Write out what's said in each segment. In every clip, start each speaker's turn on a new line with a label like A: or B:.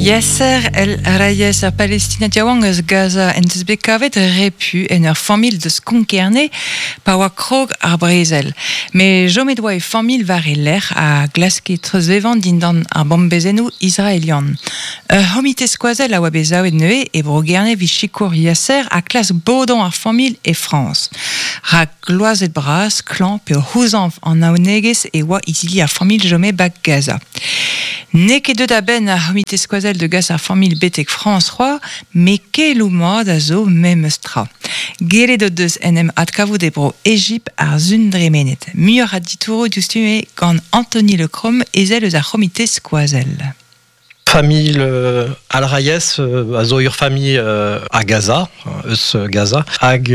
A: Yasser El Rayes, ar Palestinad yaouank eus Gaza, en deus bet kavet repu en ur familh deus Konk-Kerne pa oa krog ar brezel. Met chomet oa e familh war e lerc'h a glaske treuzvevañ dindan ar bombezennoù israelian. Ur c'homite skoazell a oa bet savet neuze e Bro-Gerne evit sikour Yasser ha klask bodañ ar familh e Frañs. Rak gloazet bras, klañv pe o c'houzañv an naonegezh e oa izili ar familh chome ba Gaza. N'eo ket deuet a-benn ar c'homite skoazell da gas ar familh betek Frañs c'hoazh, met keloù mat a zo memes tra. Gellet o deus en em adkavout e bro Egipt ar sun dremenet. Muioc'h a ditouroù diouzhtu eo gant Anthony Le Crom, ezel eus ar c'homite skoazell.
B: Familh Al-Rayes a zo ur familh a Gaza, eus Gaza, hag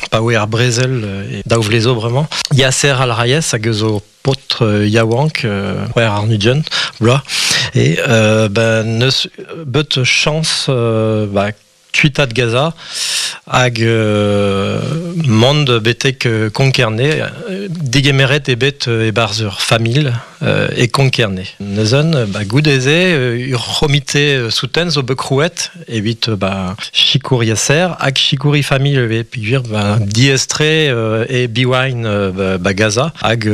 B: pa oe ar brezel e daou vlez zo bremañ. Yasser Al-Rayes hag eus zo paotr yaouank, c'hwec'h warn-ugent vloaz, e ben neus bet chañs ba kuitaat Gaza hag mont betek Konk-Kerne. Degemeret eo bet e-barzh ur familh e Konk-Kerne. Neuze, ba, goude-se, ur c'homite souten zo bet krouet evit ba, sikour Yasser hag sikour e familh ivez peogwir ba, diaes-tre e Biwain ba, Gaza hag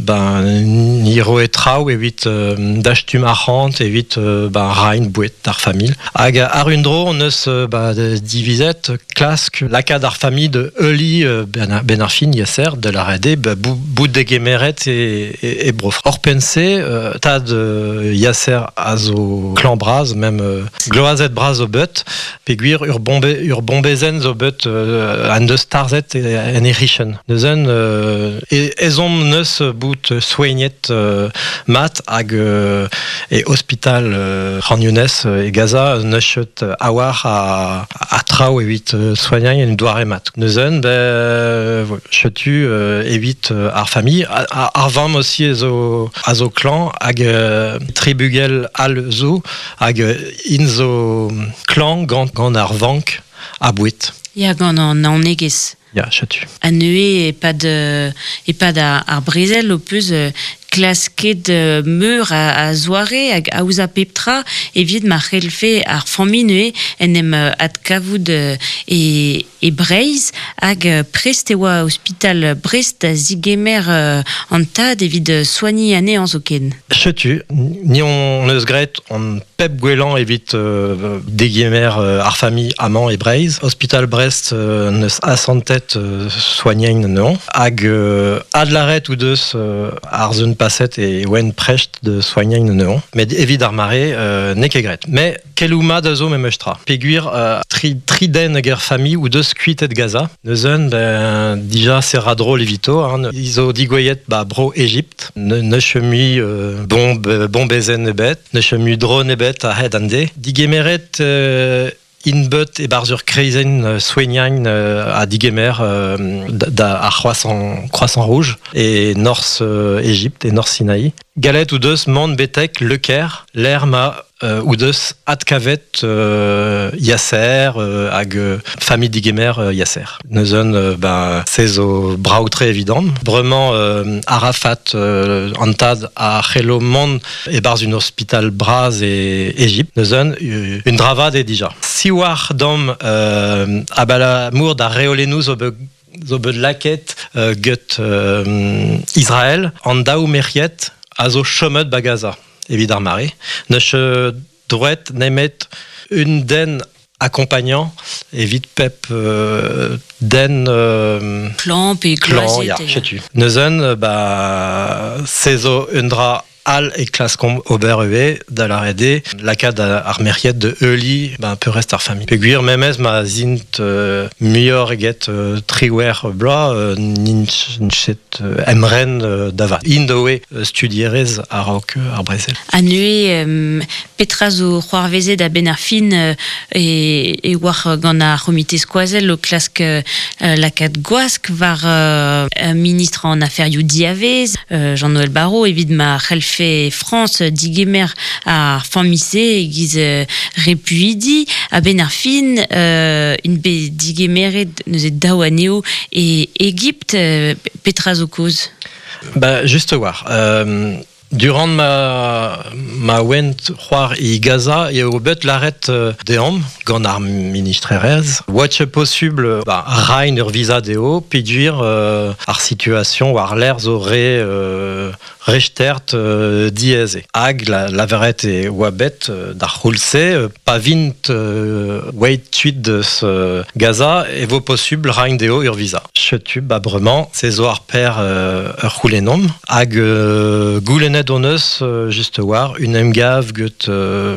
B: ba, ni roe traoù evit dastum arc'hant evit ba, reiñ boued d'ar familh. Hag àr un dro hon eus ba, divizet klask lakaat ar familh da heuliñ benn ar fin Yasser da lâret eo ba, bout degemeret e, e, e bro. Oc'hpenn-se, tad Yasser a zo klañv-bras, mem gloazet-bras zo bet, peogwir ur, bombe, ur bombezenn zo bet en deus tarzhet en he c'hichen. Neuze ezhomm neus bout soignet mat hag e ospital Khan Younes e Gaza n'eus ket a-walc'h a, a traoù evit soagnañ en doare mat. Neuze, ben, setu evit ar familh. Ar vamm aussi zo, a zo klañv hag tri bugel all zo hag int zo klañv gant, gant ar vank a boued.
C: Ya, gant an naonegezh.
B: Ya, setu.
C: Ha neuze, e-pad, e-pad ar, ar brezel, ho peus klasket meur a, a zoare hag aozañ pep tra evit ma c'hellfe ar familh neuze en em adkavout e, e Breizh hag prest e oa ospital Brest da zigemer an tad evit soagniñ anezhañ zoken.
B: Setu, ni hon eus graet hon pep gwellañ evit degemer ar familh amañ e Breizh. Ospital Brest neus asantet soagnañ anezhañ hag adlâret o deus ar sun paset e oent prest da soagnañ anezhañ. Met evit ar mare n'eo ket graet. Mais Keloù mat a zo memes tra. Peogwir tri, tri den hag er familh o deus kuitet Gaza. Neuze, ben, dija se ra drol evito. Hein. Ils zo digouezhet ba bro Egipt. Ne, neus mui euh, bomb, bombezenn ebet, neus mui drone ebet a-hed an deiz. Digemeret euh, int bet e-barzh ur kreizenn soignañ ha digemer da ar Croissant, Croissant Rouge e norzh Egipt, e norzh Sinaï. Gallet o deus mont betek Le Caire, lec'h ma o deus adkavet Yasser hag familh digemer Yasser. Neuze, ben, se zo brav-tre evidon. Bremañ Arafat, an tad a c'hello mont e-barzh un ospital bras e Egipt. Neuze, un dra vat eo dija. Siwazh dam abalamour d'ar reolennoù zo bet zo bet lakaet get Israel, an daou merc'hed a zo chomet ba Gaza evit ar mare. N'eus droet nemet un den accompagnant evit pep den
C: klañv pe
B: klañv, ya, setu. Neuze, ba, se zo un dra all e klaskomp ober ivez da lâret eo lakaat ar merc'hed da heuliñ ben, peurrest ar familh. Peogwir memes ma zint muioc'h eget triwec'h bloaz n'int ket emren da vat. Int oe studierez a-raok ar brezel.
C: Ha neuze, petra zo c'hoarvezet a-benn ar fin e, e oac'h gant ar c'homite skoazell o klask lakaat gwask war ministr an aferioù diavez, Jean-Noël Barrot, evit ma c'hellfe Frañs digemer ar familh-se e-giz repuidi. A-benn ar fin, int bet digemeret neuze daou anezho e Egipt. Petra zo kaoz?
B: Ba, just a-walc'h. Durant ma, Ma oent c'hoar e Gaza eo bet laret deomp gant ar ministrerez. Oa ket posubl ba, rain ur visa deo, peogwir ar situation war l'air zo re rechtert diaes. Hag la, laveret e oa bet d'ar c'houlz-se, pa vint oeit tuit deus Gaza e vo posubl rain deo ur visa. Chetu, ba bremañ, se zo ar per ur c'houlennomp, hag goulennet hon eus just war un emgav get